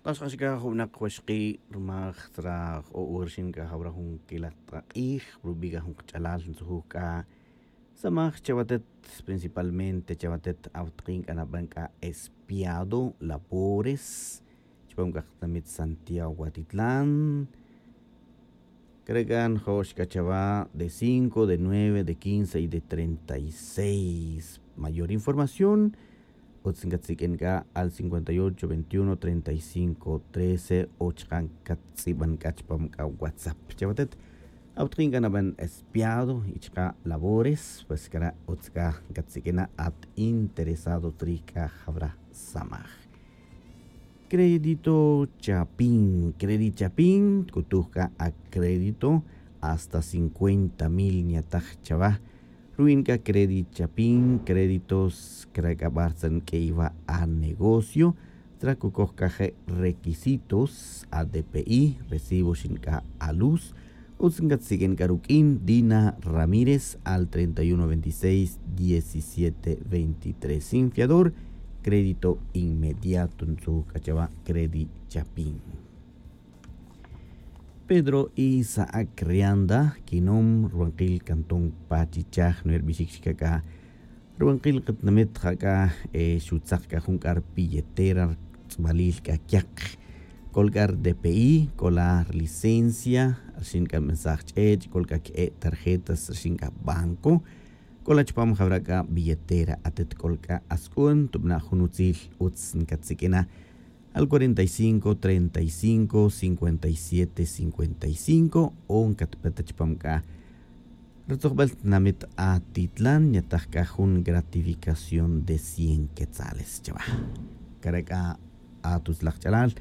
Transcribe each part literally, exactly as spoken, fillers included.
Taxq'ax c'a jun winak waxki' rmaj tzra j-o' wi rxin c'a jawra jun quilaj t'ak'ij rubi' c'a jun kach'alal ntzujuj c'a samaj chawatet. Principalmente chawatet awtakin c'a naban c'a espiado labores chupam c'a katinamit santiago atitlan. Cre' c'a njo'x c'a chawa de cinco de nueve de quince y de treinta y seis. Mayor información utz ncatsiq'uin c'a al cincuenta y ocho veintiuno treinta y cinco trece o chaka' ncatz'iban c'a chupam c'a whatsapp chawatet. Awtakin c'a naban espiado y chaka' labores pues cre' utz c'a ncatsiq'uin at interesado trij c'a jawra samaj. Crédito chapin crédito chapin tk'utuj c'a acrédito hasta cincuenta mil nyataj chawa. Ruin c'a crédito chapin créditos cre' c'a bartzan q'uey wa' anegocio tra cucoj c'a je' requisitos adpi recibo xin c'a aluz. Utz ncatsiq'uin c'a ruq'uin dina ramírez al treinta y uno veintiséis diecisiete veintitrés sin fiador. Crédito inmediato ntzuj c'a chawa crédito chapin. Pedro isaac rianda quinom rubankil cantón pachichaj nuerbixic xca' c'a rubankil katinamit ja c'a xutzak c'a jun c'a rbilletera rtz'ubalil c'a quiak. C'ol c'a rdpi c'ola rlicencia rxin c'a nbensaj ch'ech' c'ol c'a que'e' tarjetas rxin c'a banco. C'ola chupam jawra c'a billetera atet c'ol c'a asc'un tubana' jun utzil utz ncatsiq'uina al cuarenta y cinco treinta y cinco cincuenta y siete cincuenta y cinco o ncatpeta chupam c'a rutzojbel tinamit atitlan nyataj c'a jun gratificación de cien quetzales chawa. Cre' c'a atutzlaj ch'alal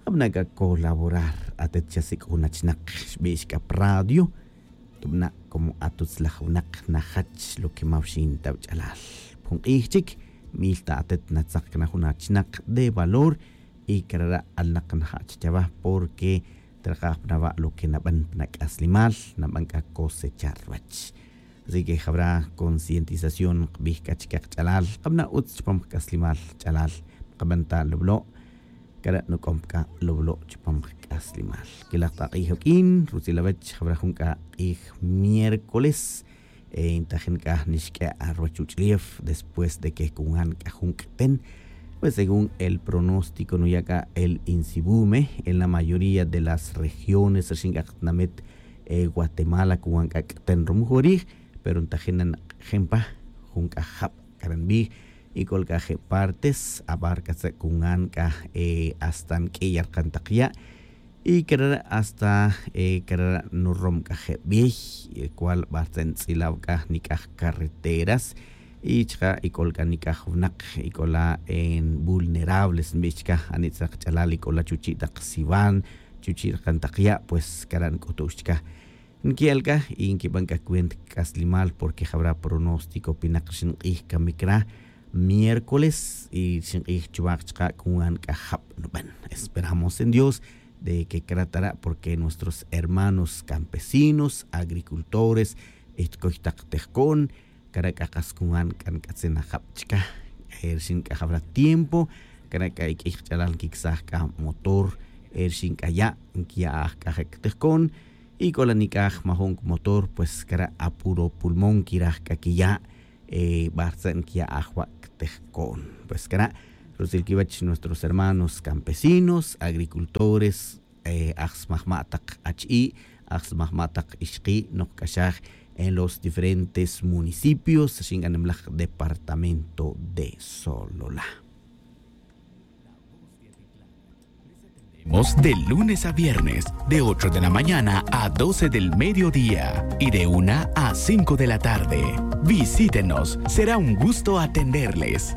jabana' c'a colaborar atet chasic'oj jun achinak xbix c'a pa radio. Tubana' como atutzlaj winak najach lo que ma wxin ta wach'alal pa jun k'ij chic mil ta atet natzak cana jun achinak de valor. Y carara' alnak naja' chachawa porque trakaj pa nawa' lo que naban pa nac'aslimal naban c'a cosechar ruwach. Así que jawra concientización nkabij c'a chique kach'alal kabana' utz chupam kac'aslimal ch'alal. Kaban ta lublo' cara' nuc'om c'a lublo' chupam kac'aslimal. Quilaj ta k'ij oq'uin rutzil awech jawra jun c'a k'ij miércoles. Ntajin c'a nixq'ue' ruwach uch'ulef después de que cungan c'a jun c'ten. Pues según el pronóstico nuya' c'a el insibume en la mayoría de las regiones rixin c'a katinamit guatemala cungan c'a c'ten rumujorij. Pero ntajin na nk'ejin pa jun c'a jab' cara' nbij. Y c'ol c'a je' partes abar c'a tza' cungan c'a hasta nq'uiy arkan tak ya'. Y carara' hasta carara' nurom c'a je' bey cual bar tza' ntz'ilaw c'a nic'aj carreteras. Y chaka' y c'ol c'a nic'aj winak y c'ola vulnerables nbix chca ani' tzak ch'alal y c'ola chuchi' tak siwan chuchi' arkan tak ya' pues cara' nc'utu'x chca. Nqui'el c'a y nquiban c'a cuenta c'aslimal porque jawra pronóstico pinak rixin k'ij camic ra miércoles y rixin k'ij chuwak chaka' cungan c'a jab' nuban. Esperamos en dios de que cratara' porque nuestros hermanos campesinos agricultores y tcoy tak tejco'n cara' c'a kas cungan c'a nc'atzin ajab' chca. Rixin c'a jawra tiempo cara' c'a y k'ij kach'alal nquicsaj c'a motor rixin c'a ya' nquia'aj c'a je' ctejco'n. Y c'ola nic'aj majun cmotor pues cara' apuro pulmón quiraj c'a quiya'. Bar tza' nquia'aj wa' ctejco'n pues cara' rutzil quiwech nuestros hermanos campesinos agricultores aj smajma' tak achi'i' aj smajma' tak ixki' nokc'axaj en los diferentes municipios rixin c'a nimlaj departamento de solola. De lunes a viernes, de ocho de la mañana a doce del mediodía y de una a cinco de la tarde. Visítenos, será un gusto atenderles.